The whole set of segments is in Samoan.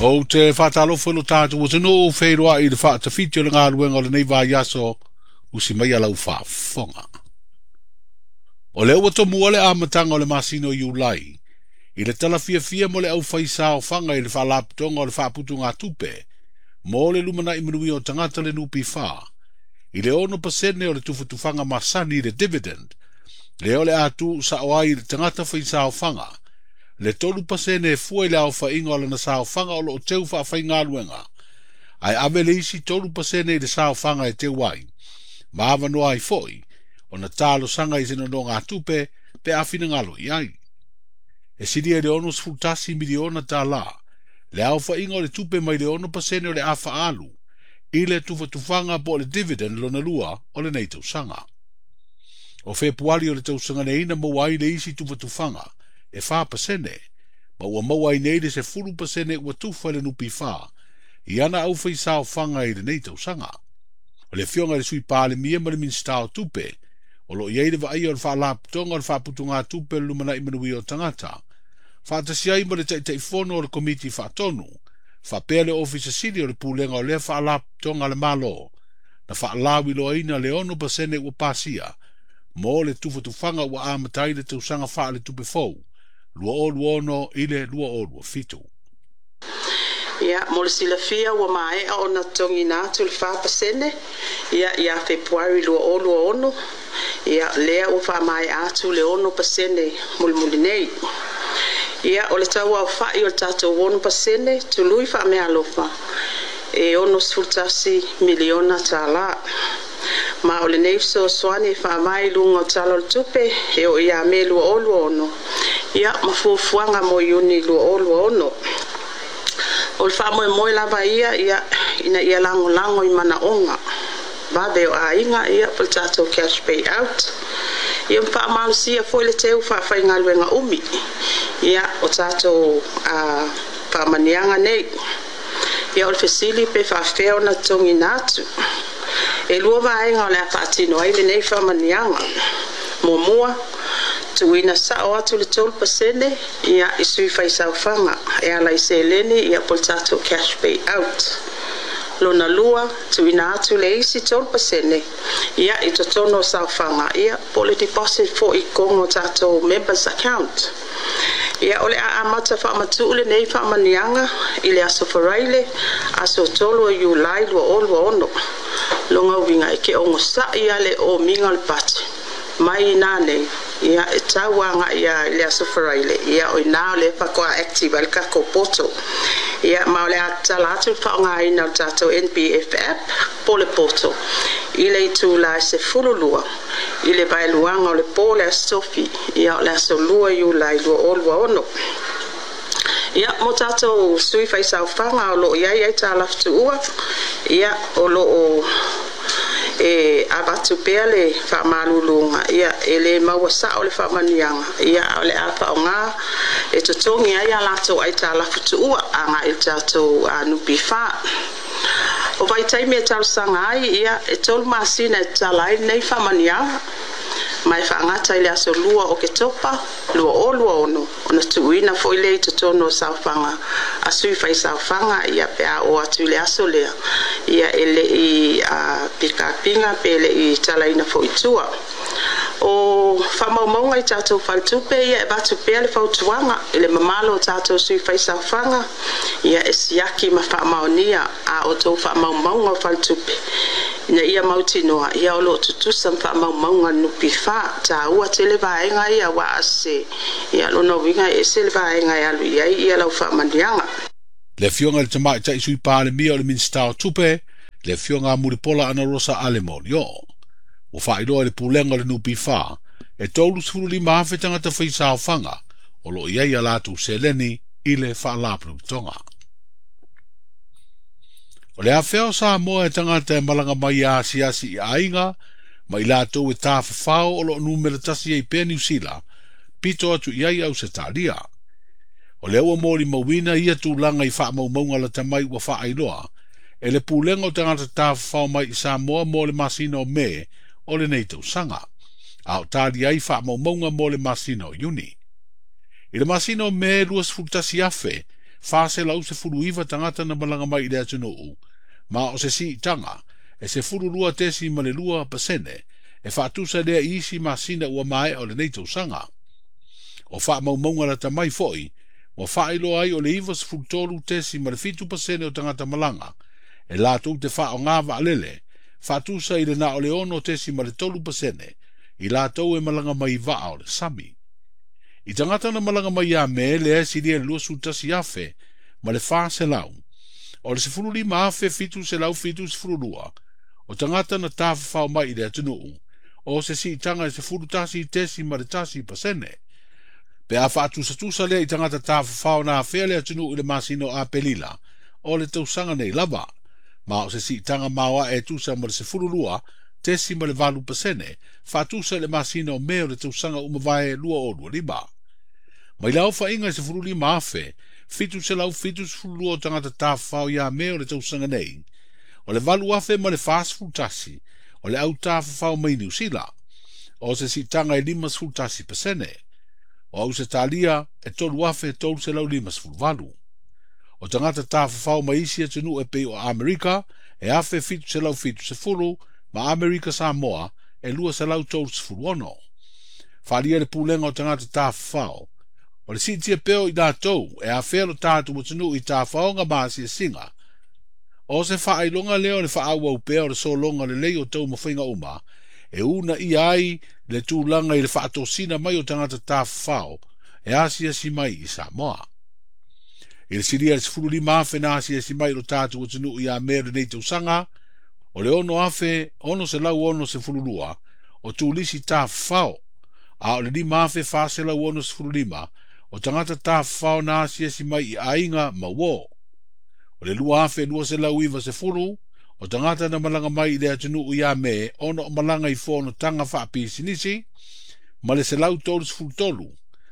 Ou te faatalofa i lo tatou atunuu feiloai i le faatafiti o le galuega o lenei vaiaso usi mai a lau faafofoga. O lea ua tomua le amataga o le masina o Iulai i le talafiafia mo le aufaisaofaga i le faalapotopotoga o le faaputugatupe mo le lumanai manuia o tagata le NPF i le 6% o le tufatufaga masani i le dividend, lea o le a tuusao ai i le tagata faisaofaga le 3% e fua i le aofaiga o lana saofaga o loo teu faafaigaluega, ae ave le isi 3% i le saofaga e teu ai, ma avanoa ai foi ona talosaga i se nonogatupe pe a finagalo i ai. E silia i le $61 miliona tala le aofaiga o le tupe mai le 6% o le a faaalu i le tufatufaga po o le dividend lona lua o lenei tausaga. O Fepuari o le tausaga nei na maua ai le isi tufatufaga e 4%, ma ua maua ai nei le 10% ua tufa i le NPF i ana aufaisaofaga i lenei tausaga. O le afioga i le Sui Palemia ma le Minisita o Tupe, o loo i ai le vaaia o le faalapotopotoga o le faaputugatupe o le lumanai manuia o tagata, faatasi ai ma le Taitaifono o le Komiti Faatonu, faapea le Ofisa Sili o le Pulega o lea faalapotopotoga a le Malo, na faalauiloaina le 6% ua pasia mo le tufatufaga ua amata ai le tausaga faaletupe fou 2026 i le 2027. Ia, mo le silafia ua maea ona totogiina atu le 4% ia ia Fepuari 2026, ia lea ua faamaea atu le 6% mulimuli nei. Ia, o le tauaofai o le tatou 6% tului faameaalofa e $61 miliona tala. Ma o lenei fesoasoani e faavae i luga o Tala o le Tupe e oo ia Me 2026, ia ma fuafuaga mo Iuni 2026. O le faamoemoe lava ia, ia ina ia lagolago i manaoga vave o aiga, ia po o le tatou cash payout, ia ma faamalosia foi le teu faafaigaluega umi, ia o tatou faamaniaga nei. Ia o le fesili pe faafefea ona totogiina atu. E lua vaega o le a faatino ai lenei faamaniaga. Muamua, tuuina sao atu le 3% ia i sui faisaofaga e ala i seleni, ia po o le tatou cash payout. Lona lua, tuuina atu le isi 3% ia i totonu o saofaga, ia po o le deposit foi i totonu o tatou members account. Ia o le a amata faamatuu lenei faamaniaga i le aso Faraile, aso 3 o Iulai 2026. Lona uiga e te onosai lava le omiga o le pati mai ina nei, ia e tau agai i le aso Faraile, ia o ina o lea faatoa active ai le tatou portal. Ia ma o le a tatala atu le faaaogaina o le tatou NPF app po o le portal i le itula e 12 i le vaeluaga o le po le aso Tofi, ia o le aso 2 Iulai 2026. Ia mo tatou sui faisaofaga o loo i ai aitalafu tuua, ia o loo e avatu pea le faamaluluga, ia e le maua sao le faamaniaga, ia a o le a faaaoga e totogi ai a latou aitalafu tuua agai i le tatou NPF. O vaitaimi e talosaga ai, ia e 3 masina e tatala ai lenei faamaniaga, ma e faagata i le aso 2 o Oketopa 2026, ona tuuina foi lea i totonu o saofaga a sui faisaofaga, ia pe a oo atu i le aso lea, ia e le i pikapiga pe le i talaina foi i tua. O faamaumauga i tatou faletupe, ia e avatu pea le fautuaga i le mamalu o tatou sui faisaofaga, ia e siaki ma faamaonia a outou faamaumauga o faletupe ina ia mautinoa ia o loo tutusa ma faamaumauga a le NPF. Taua tele vaega ia aua a sese, ia lona uiga e ese le vaega e alu i ai ia lau faamaniaga. Le afioga i le Tamaitai Sui Palemia o le Minisita o Tupe, le afioga a Mulipola Anarosa Ale Molioo. Ua faailoa i le pulega o le NPF e 35,000 tagata faisaofaga o loo i ai a latou seleni i le faalapotopotoga. O le afea o Samoa e tagata e malaga mai e asiasi i aiga ma i latou e tafafao o loo numera 1 ai pea Niu Sila, pito atu i ai Ausetalia. O lea ua molimauina ia tulaga i faamaumauga lata mai ua faailoa e le pulega o tagata tafafao mai i Samoa mo le masina o Me o lenei tausaga, a o tali ai faamaumauga mo le masina o Iuni. I le masina o Me 21,000 419 tagata na malaga mai i le atunuu, ma o se siitaga e 12.2% e faatusa lea i isi masina ua maea o lenei tausaga. O faamaumauga lata mai foi, ua faailoa ai o le 93.7% o tagata malaga e latou te faaaoga vaalele, faatusa i le na o le 6.3% i latou e malaga mai vaa o le sami. I tagata na malaga mai ia Me lea e silia i le 21,000 ma le 400, o le 15,772 o tagata na tafafao mai i le atunuu, o se siitaga e 11.1%. Pe a faatusatusa lea i tagata tafafao na afea le atunuu i le masina o Aperila o le tausaga nei lava, ma o se siitaga maoae e tusa ma le 12.8% faatusa i le masina o Me o le tausaga ua mavae 2025. Mai le aofaiga e 15,772 o tagata tafafao ia Me o le tausaga nei, o le 8,000 ma le 41 o le au tafafao mai Niu Sila, o se siitaga e 51%. O Ausetalia e 3,358. O tagata tafafao mai isi atunuu e pei o Amerika e 1,770 ma Amerika Samoa e 236. Faaalia le pulega o tagata tafafao, o le siitia pea o i latou e afea lo tatou atunuu i tafaoga ma asiasiga. O se faailoga lea o le faaauau pea o le sologa lelei o taumafaiga uma, e uunaia ai le tulaga i le faatosina mai o tagata tafafao e asiasi mai i Samoa. I le silia i le 15,000 na asiasi mai i lo tatou atunuu ia Me o lenei tausaga, o le 6,662 o tulisi tafafao, a o le 5,465 o tagata tafafao na asiasi mai i aiga ma uo. O le 2,290 o tagata na malaga mai i le atunuu ia Me ona o malaga i fonotaga faapisinisi, ma le 133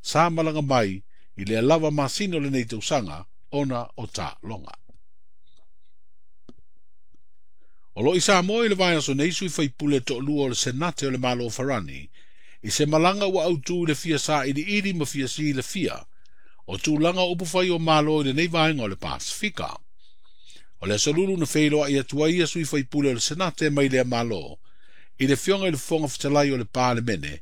sa malaga mai i le lava masina o lenei tausaga ona o taaloga. O lo o i Samoa i le vaiaso nei sui faipule toalua o le Senate o le Malo o Farani, i se malaga ua autu i le fia sailiili ma fia silafia o tulaga o upufai o Malo i lenei vaega o le Pasifika. O le aso Lulu na feiloai atu ai ia sui faipule o le Senate mai lea Malo i le afioga i le Fofoga Fetalai o le Palemene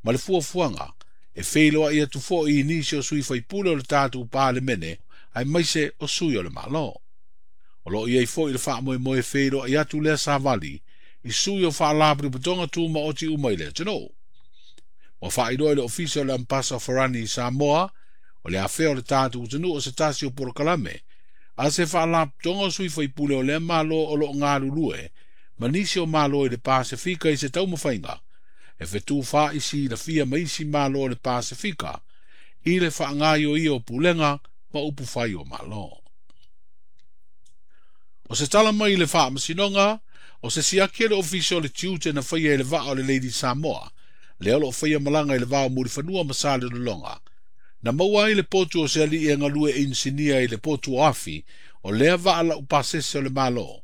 ma le fuafuaga e feiloai atu foi i nisi o sui faipule o le tatou Palemene aemaise o sui o le Malo. O lo o i ai foi le faamoemoe feiloai atu lea savali i sui o faalapotopotoga tumaoti uma i le atunuu. Ua faailoa i le Ofisa o le Ambasa o Farani i Samoa o le afea o le tatou atunuu o se tasi o polokalame a se faalapotopotoga o sui faipule o lea Malo o lo o galulue ma nisi o Malo i le Pasefika i se taumafaiga e fetufaai silafia ma isi Malo o le Pasefika i le faagaioia o pulega ma upufai o Malo. O se tala mai i le faamasinoga, o se siaki e le Ofisa o le Tiute na faia i le vaa o le Lady Samoa, lea o lo o faia malaga i le va o Mulifanua ma Salelologa, na maua ai le potu o se alii e galue inisinia i le potu o Afi, o lea vaa laupasese o le Malo.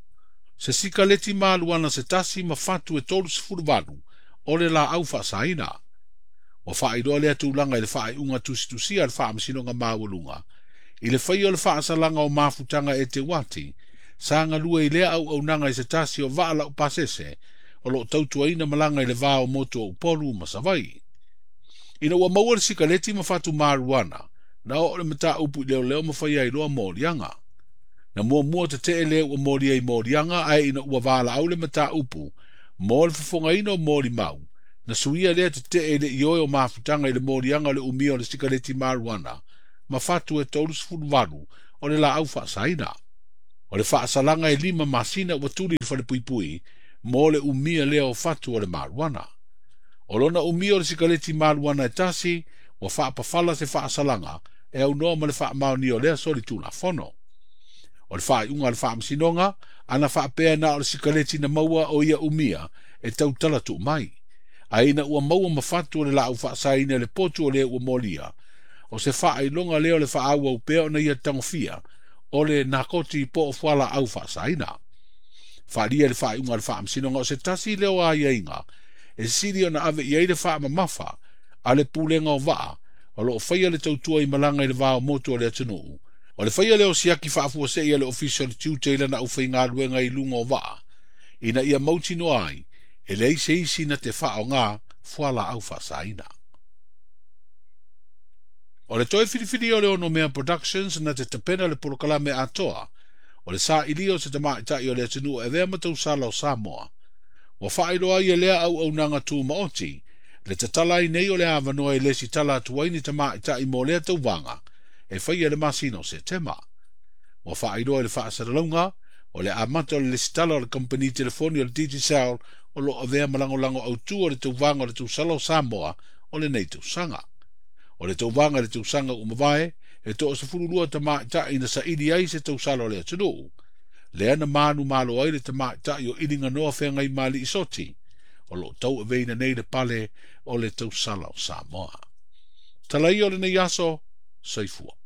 Se sikaleti maluana se tasi ma fatu e 38 o le laau faasaina. Ua faailoa lea tulaga i le faaiuga tusitusia a le faamasinoga maualuga, i le faia o le faasalaga o mafutaga e Teuati, sa galue i lea auaunaga i se tasi o vaa laupasese o lo o tautuaina malaga i le va o motu o Upolu ma Savaii. Ina ua maua le sikaleti ma fatu maruana, na oo le mataupu i leoleo ma faia ai loa moliaga. Na muamua tetee lea ua molia i moliaga, ae ina ua valaau le mataupu mo le fofogaina o molimau, na suia lea tetee i le ioe o mafutaga i le moliaga o le umia o le sikaleti maruana ma fatu e 38 o le laau faasaina. O le faasalaga e 5 masina ua tuli i le falepuipui mo le umia lea o fatu o le maruana. O lona umia o le sikaleti maruana e tasi, ua faapafala se faasalaga e aunoa ma le faamaonia o lea solitulafono. O le faaiuga a le faamasinoga, ana faapea na o le sikaleti na maua o ia umia e tautala tuu mai. Ae ina ua maua ma fatu o le laau faasaina i le potu o lea ua molia, o se faailoga lea o le faaauau pea ona ia tagofia o le nakoti po o fualaau faasaina. Faaalia le faaiuga a le faamasinoga o se tasi lea o aiaiga e sili ona ave i ai le faamamafa a le pulega o vaa o lo o faia le tautua i malaga i le va o motu o le atunuu, O le faia lea o siaki faafuasei a le Ofisa o le Tiute i lana aufaigaluega i luga o vaa, ina ia mautinoa ai e leai se isi na te faaaoga fualaau faasaina. O le toe filifilia o le Onomea Productions na te tapena le polokalame atoa o le sailia o se tamaitai o le atunuu e avea ma tausala o Samoa, ua faailoa ai e lea auaunaga tumaoti le tatala ai nei o le avanoa e lesitala atu ai ni tamaitai mo lea tauvaga e faia i le masina o Setema. Ua faailoa i le faasalalauga o le amata o le lesitala o le kamupani telefoni o le Digicel o lo o avea ma lagolago autu o le tauvaga o le tausala o Samoa o lenei tausaga. O le tauvaga i le tausaga ua mavae, e 12 tamaitai na saili ai se tausala o le atunuu, lea na manumalo ai le tamaitai o Iliganoa Feagaimalii Soti, o lo o tauaveina nei le pale o le tausala o Samoa. Tala ia o lenei aso, soifua.